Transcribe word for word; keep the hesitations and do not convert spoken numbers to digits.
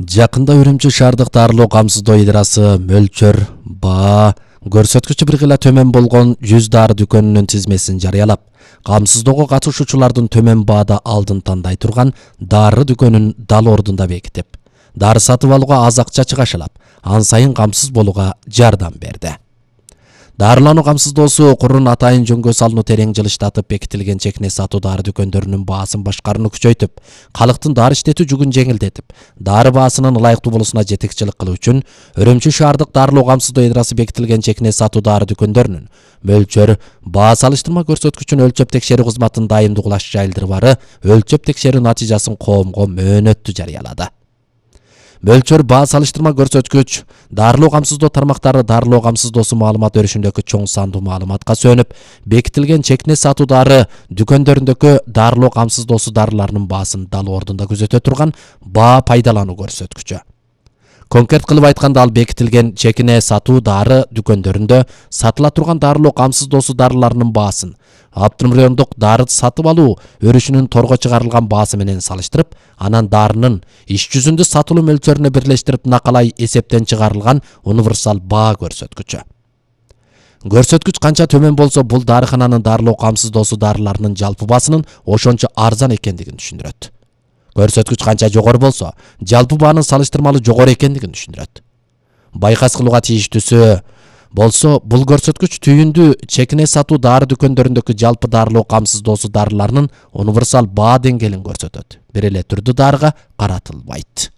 Жакында Үрүмчү шаардык дарылоо камсыздоо идарасы мөлчөр, баа, көрсөткүчү бир гыла төмөн болгон жүз дары дүкөнүнүн тизмесин жарыялап, камсыздоого катышуучулардын төмөн баада алдын тандай турган дары дүкөнүн дал ордунда бекитип, дары сатып алууга аз акча чыгашалап, ан сайын камсыз болууга жардам берди. Дарылануу камсыздоосу курун атайын жөнгө салууну терең жылыштатып, бекитилген чекне сатуу дары дүкөндөрүнүн баасын башкарууну күчөйтүп, калктын дары иштетүү жүгүн жеңилдетип, дары баасынын ылайыктуу болуусуна жетекчилик кылуу үчүн Үрүмчү шаардык дарылоо камсыздоо идарасы бекитилген чекне сатуу дары дүкөндөрүнүн мөлчөр, баа салыштырма көрсөткүчүн өлчөп текшерүү кызматын дайымдуулаш жайылдырбары өлчөп текшерүү натыйжасын коомго мөөнөттүү жарыялады. Мөлчөр, баа салыштырма көрсөткүч дарылоо камсыздоо тармактары дарылоо камсыздоосу маалымат өрүшүндөгү чоң сандуу маалыматка сүйөнүп, бекитилген чекне сатуу дары дүкөндөрүндөгү дарылоо камсыздоосу дарыларынын баасын дал ордунда күзөтө турган баа пайдалануу көрсөткүчү. Конкрет кылып айтканда, ал бекитилген чекне сатуу дары дүкөндөрүндө сатыла турган дарылоо камсыздоосу дарыларынын баасын автономдук дары сатып алуу өрүшүнүн торго чыгарылган баасы менен салыштырып, анан дарынын иш жүзүндө сатылуу мөлчөрүнө бирлештирип накалай эсептен чыгарылган универсал баа көрсөткүчү. Көрсөткүч канча төмөн болсо, бул дарыкананын дарылоо камсыздоосу дарыларынын жалпы баасынын ошончо арзан экендигин түшүндүрөт. Көрсөткүч канча жогору болсо, жалпы баанын салыштырмалуу жогору экендигин түшүндүрөт. Байкас кылууга тийиштүүсү болсо, бул көрсөткүч түйүндү чекне сатуу дары дүкөндөрүндөгү жалпы дарылоо камсыздоосу дарыларынын универсал баа деңгээлин көрсөтөт. Бир эле түрдүү дарыга каратылбайт.